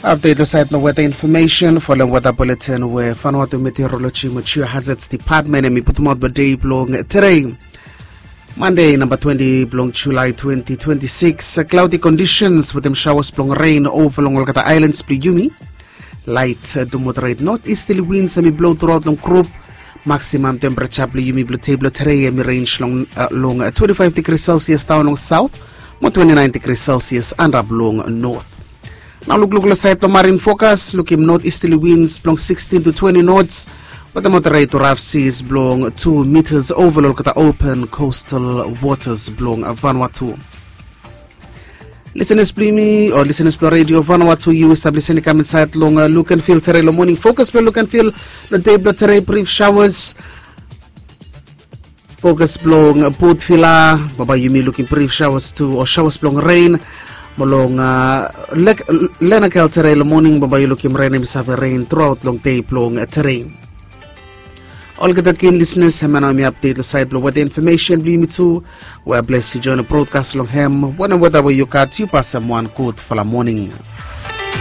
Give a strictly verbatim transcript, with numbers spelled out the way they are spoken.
Update lo sait long weta infomesen folem weta buletin we Vanuatu Meteorology mo Geohazards Department em i putumaot blo dei blong terei, Mande namba twenti blong Julai twenti twenti sikis. Cloudy conditions wetem shawas blong ren ova long olgeta ailans blong yumi. Lait to moderate north easterly winds em i blo truaot long grup. Maksimam tempereja blong yumi blong dei blong terei em i rens long long twenti faiv digri selsias daon long saut mo twenti nain digri selsias antap long north. Nao lukluk long sait blong marin fokas lukim north easterly winds blong sikstin to twenti knots, wetem moderate to raf seas blong tu mitas ova long olgeta open coastal waters blong Vanuatu. Lisenas blong yumi o lisenas blong redio Vanuatu, yu stap lisin i kam insait long Lukenvil terei long moning. Fokas blong Lukenvil long dei blong terei brif shawas. Fokas blong Port Vila, bambae yumi lukim brif shawas tu o shawas blong ren. Mo long Lenakel terei long moning, bambae yu lukim ren em i save ren truaot long dei blong terei. Olgeta gen lisenas, hemia nao mi apdet long sait blong weta infomesen blong yumi tu. We bles yu join brodkas long hem wanem weta we yu gat, yu pasem wan gudfala moning.